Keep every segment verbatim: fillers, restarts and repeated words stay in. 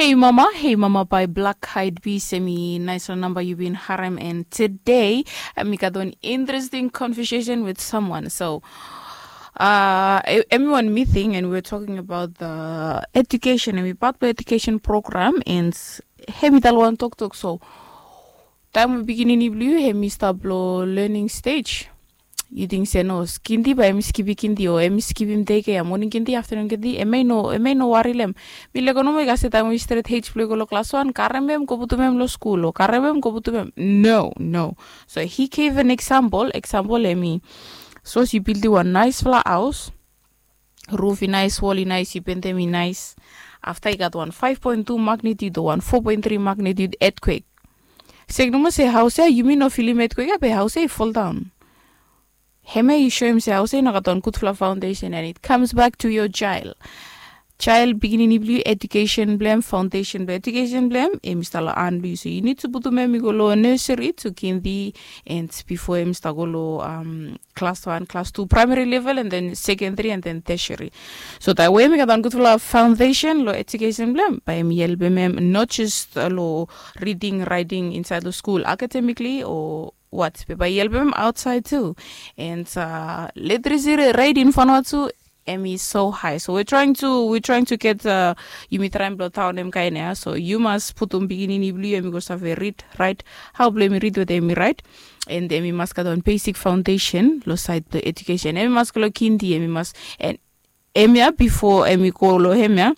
Hei mama, hei mama by Black Eyed Peas, hemi naesfala namba yu bin harem. And today, uh, mi gat wan interesting conversation with someone. So, uh, e- hemi wan meeting and we were talking about the education, hemi part blong education program, and hemi talem wan toktok. So, taem we pikinini blong yu hemi stap long learning stage, yu ting se no, kindi bae hemi skipim kindi o hemi skipim dei kea, moning kindi, aftenun kindi, hemia i no, hemia i no wari long hem. Mi lego nomo i kase taem we i stret H blong i go long klas wan, karem hem go putum hem long skul, o karem hem go putum hem. No, no. So he gave an example. Example hemi, sapos yu bildim wan naesfala haos, ruf i naes, wol i naes, yu pentem i naes. Afta i gat wan five point two magnitude o wan four point three magnitude earthquake. Sek nomo se haos ia yumi no filim earthquake ia, be haos ia i foldaon. Hemia i soem se haos ia i no gat wan gudfala foundation, and it comes back to your child. Child, pikinini blong yu, education blong hem, foundation blong education blong hem, hemi stap long han blong yu. So yu nid tu putum hem i go long nursery tu kindi, and bifo hemi stap go long, um, klas wan, klas tu, primary level, and then secondary, and then tertiary. So taem we hemi gat wan gudfala foundation long education blong hem, bae hemi helpem hem not just, uh, long reading, writing insaed long skul academically o what, be bae i helpem hem aotsaed tu. And, uh, literacy rate in Vanuatu, hemi so high. So we trying to, we trying to get, uh, yumi traem blong taonem kaen ia. So yu mas putum pikinini blong yu hemi go save rid, raet, hao blong hemi rid wetem hemi raet. And hemi mas gat wan basic foundation long saed blong education. Hemi mas go long kindi, hemi mas, and hemia bifo hemi go long hemia,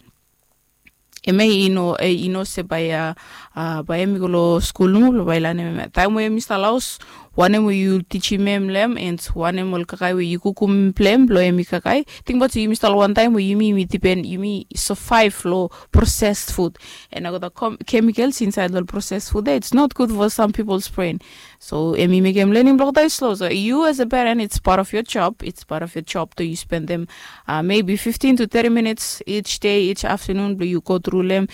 hemia i no, eh, i no se bae, uh, uh, bae hemi go long skul nomo blong bae i lanem hemia. Taem we hemi stap long haos, wanem we yu tijim hem long hem, and wanem ol kakae we yu kukum blong hem blong hemi kakae. Tingbaot se yumi stap long wan taem we yumi, yumi dipen, yumi survive long processed food. And nao gat chemicals insaed long processed food ia, it's not good for some people's brain. So hemi mekem learning blong olgeta i slow. So you as a parent, it's part of your job, it's part of your job to yu spendem, uh, maybe fifteen to thirty minutes each day, each afternoon blong yu go tru long hem,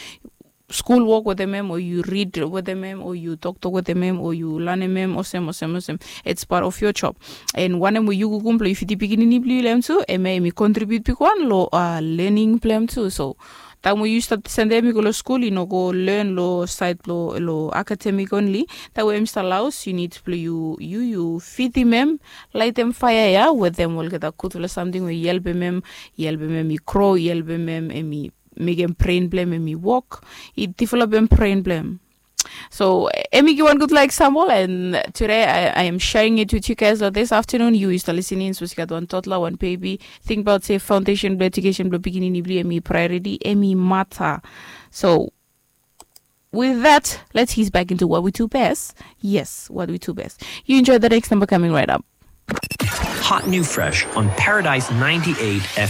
skul wok wetem hem, o yu rid wetem hem, o yu toktok wetem hem, o yu lanem hem, olsem, olsem, olsem. It's part of your job. And wanem we yu kukum blong yu fidim pikinini blong yu long hem tu, hemia hemi contribute bigwan long, uh, learning blong hem tu. So taem we yu stap sendem hem i go long skul, i no go learn long saed blong, long academic only. Taem we hemi stap long haos, yu nid blong yu, yu, yu fidim hem, laetem faea ia wetem olgeta gudfala samting we i helpem hem, i helpem hem i grow, i helpem hem, hemi mekem brain blong hem, hemi wok, i developem brain blong hem. So hemi givim wan gudfala example, and today I, I am sharing it with you guys. So this afternoon, yu stap listening, sapos yu gat wan toddler, wan baby, tingbaot se foundation blong education blong pikinini blong yu hemi priority, hemi mata. So with that, let's ease back into what we do best. Yes, what we do best. You enjoy the next number coming right up. Hot new fresh on Paradise ninety-eight F M.